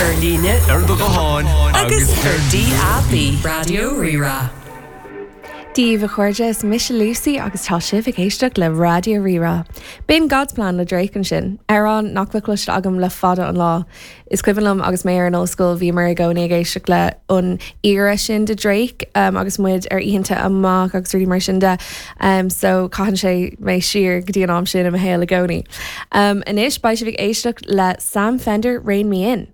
Ar líne, ar do ghuthán agus ar DAB. Raidió Rí-Rá. Dia daoibh a chairde, is mise Lucy agus tá sibh ag éisteacht le Raidió Rí-Rá. B'in God's Plan le Drake ansin, amhrán nach bhfuil cloiste agam le fada an lá. Is cuimhin liom agus mé ar an ollscoil bhíomar i gcónaí ag éisteacht le an era sin de Drake agus muid ar oícheanta amach agus rudaí mar sin de so caitheann sé mé siar go dtí an am sin i mo shaol i gcónaí. Anois beidh sibh ag éisteacht le Sam Fender, Rein Me In.